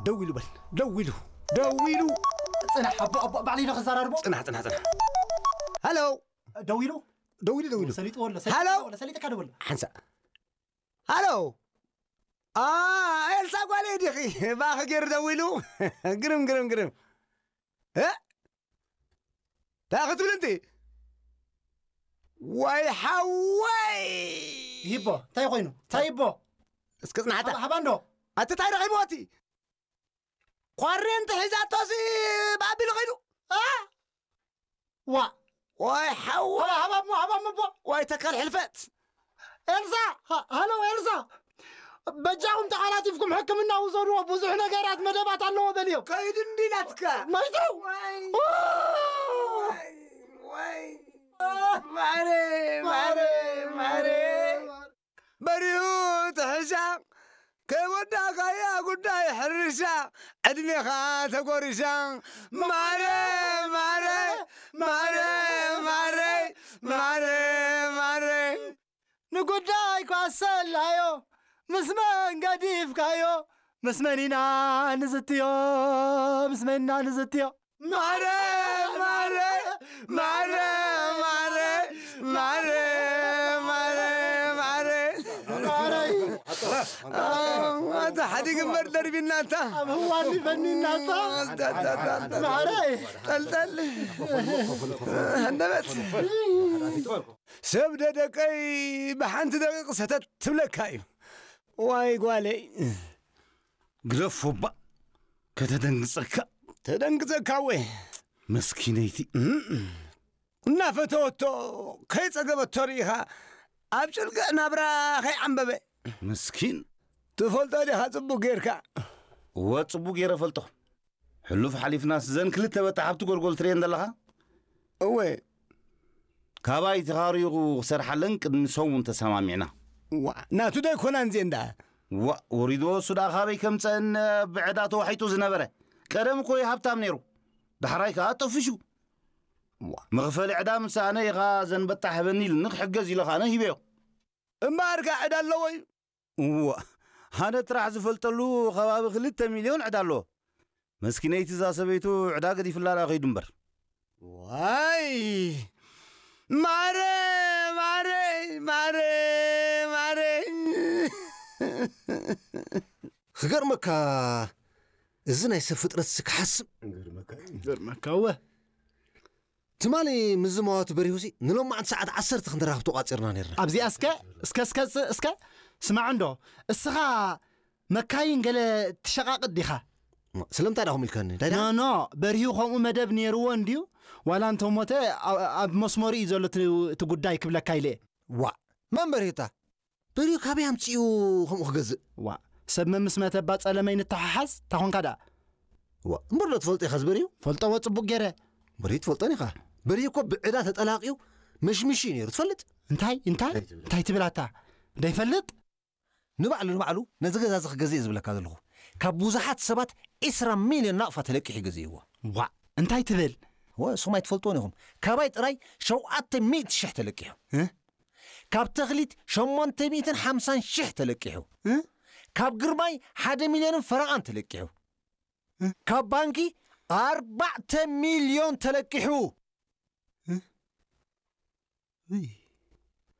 ደው ኢሉ በል። ደው ኢሉ። ደው ኢሉ። ጽናሕ፣ ኣቦ፣ ኣቦ፣ ባዕለይ ዶ ክዘራርቦ? ጽናሕ፣ ጽናሕ፣ ጽናሕ። ሃሎ። ደው ኢሉ? ደው ኢሉ፣ ደው ኢሉ። ሰሊጥዎ ኣሎ፣ ሃሎ። ሰሊጥዎ ኣሎ፣ ሰሊጥካ ደው ኣሎ። ሓንሳእ። ሃሎ። ኣ፣ ኤልሳ ጓለይ ዲኺ? ባኺ ገይሩ ደው ኢሉ። ግርም፣ ግርም፣ ግርም። እ? እንታይ ክትብል እንቲ? ዋይ ሓወይ! ይቦ፣ እንታይ ኮይኑ? እንታይ ይቦ? እስከ ጽናሕታ። ሃባ፣ ሃባ እንዶ? ኣቲ እንታይ ረኺብዎ እቲ? ኳሬንቲ ሒዛቶሲ ባቢሉ ኸይዱ። ኣ? ዋ። ዋይ ሓወይ! ሃባ፣ ሃባ እሞ፣ ሃባ እሞ ቦ። ዋይ ተካል ሕልፈት! ኤልሳ! ሃ-፣ ሃሎ ኤልሳ! በጃኹም ተቓላጢፍኩም ሕክምና ውሰድዎ፣ ብዙሕ ነገራት መደባት ኣለዎ በልዮ። ከይዱ እንዲ ኢላትካ። መይቱ! ዋይ! ኦ! ዋይ! ዋይ! ማረ! ማረ! ማረ! በሪሁ ትሕሻ፣ ከይወዳእካያ ጉዳይ ሕርሻ፣ ዕድሜኻ ተጎሪሻ። ማረ፣ ማረ፣ ማረ፣ ማረ፣ ማረ፣ ማረ። ንጉዳይ ኳሰላዮ፣ ምስ መን ገዲፍካዮ፣ ምስ መን ኢና ንዝትዮ፣ ምስ መን ኢና ንዝትዮ። ማረ፣ ማረ፣ ማረ፣ ማረ፣ ማረ፣ ማረ፣ ማረ። ማረይ። ኣታ ሓዲግ እምበር ደርቢናታ። ኣብ ህዋኒ ፈኒናታ። ኣታ፣ ኣታ፣ ኣታ፣ ኣታ። ማረይ። ጠልጠል። ሃንደበት። ሰብ ደደቀይ ብሓንቲ ደቂቕ ሰተት ትብለካ እዩ። ዋይ ጓለይ። ግደፎ እባ፣ ከተደንግጸካ። ተደንግጸካ ወ። መስኪነይቲ። እም። እናፈተወቶ፣ ከይጸገበቶ ርኢኻ፣ ኣብ ጭልግዕ ናብራ ከይዓምበበ። መስኪን። ትፈልጦ ዲኻ ጽቡቕ ጌርካ? እወ፣ ጽቡቕ ጌረ ፈልጦ። ሕሉፍ ሓሊፍናስ ዘን ክልተ በታ ሓብቲ ጎልጎል ትርእየን ዘለኻ? እወ። ካባይ ተኻሪኹ ክሰርሓለን ቅድሚ ሰሙን ተሰማሚዕና። ዋ፣ ናቱ ዶ ኣይኮናን እዚኤን ደኣ? ዋ፣ ወሪድዎ እሱ ደኣ ካበይ ከምጸአን ብዕዳ ተዋሒጡ ዝነበረ። ቀደም እኮ እዩ ሃብታም ነይሩ። ዳሕራይ ከኣ ጠፊሹ። ዋ። መኽፈሊ ዕዳ ምስ ሰኣነ ኢኻ ዘን በታ ህበኒ ኢሉኒ ክሕገዝ ኢለ ከኣ ኣነ ሂበዮ። እምበኣር ከኣ ዕዳ ኣለዎ እዩ። እዋ፣ ኣነ ጥራሕ ዝፈልጠሉ ከባቢ ክልተ ሚልዮን ዕዳ ኣለዎ። መስኪነይቲ እዛ ሰበይቱ ዕዳ ገዲፍላ ደኣ ከይዱ እምበር። ዋይ! ማረ፣ ማረ፣ ማረ፣ ማረ። ክገርመካ፣ እዚ ናይ ሰብ ፍጥረትሲ ክሓስብ። ገርመካ እወ። ትማሊ ምስ ዝመዋቱ በሪሁሲ ንሎማዕንቲ ሰዓት ዓሰርተ ክንራኸብ ተቋጺርና ነይርና። ኣብዚኣ እስከ፣ እስከ፣ እስከ፣ እስከ፣ ስማዕ እንዶ፣ እስኻ መካይን ገለ ትሸቓቕጥ ዲኻ? ማ፣ ስለምንታይ ዳኹም ኢልካኒ? እንታይ ዳ? ኖ፣ ኖ፣ በሪሁ ከምኡ መደብ ነይርዎ እንድዩ? ዋላ እንተሞተ፣ ኣ-፣ ኣብ መስመሩ እዩ ዘሎ እቲ፣ እቲ ጉዳይ ክብለካ ኢለ እየ። ዋእ፣ መን በሪሁታ? በሪሁ ካበይ ኣምጺኡ ከምኡ ክገዝእ? ዋእ፣ ሰብ መምስ መተ እባ ጸለመይ ንተሓሓዝ፣ እንታይ ኾንካ ደኣ? ዋእ፣ እምበር ዶ ትፈልጦ ኢኻ ዝበሪሁ? ፈልጠዎ ጽቡቕ ገይረ። በሪሁ ትፈልጦን ኢኻ። በሪሁ እኮ ብዕዳ ተጠላቂዩ መሽሚሹ እዩ ነይሩ፣ ትፈልጥ? እንታይ? እንታይ? እንታይ ትብል ኣታ? ደይፈልጥ? ንባዕሉ፣ ንባዕሉ ነዚ ገዛ እዚ ክገዝእ እየ ዝብለካ ዘለኹ። ካብ ብዙሓት ሰባት ዕስራ ሚልዮን ናቕፋ ተለቂሑ ገዚእዎ። ዋእ፣ እንታይ ትብል? እወ፣ ንስኹም ኣይትፈልጥዎን ኢኹም። ካባይ ጥራይ ሸውዓተ ሚእቲ ሽሕ ተለቂሑ። እ? ካብ ተኽሊት ሸሞንተ ሚእትን ሓምሳን ሽሕ ተለቂሑ። እ? ካብ ግርማይ ሓደ ሚልዮንን ፈረቓን ተለቂሑ። እ? ካብ ባንኪ ኣርባዕተ ሚልዮን ተለቂሑ። እ? እይ።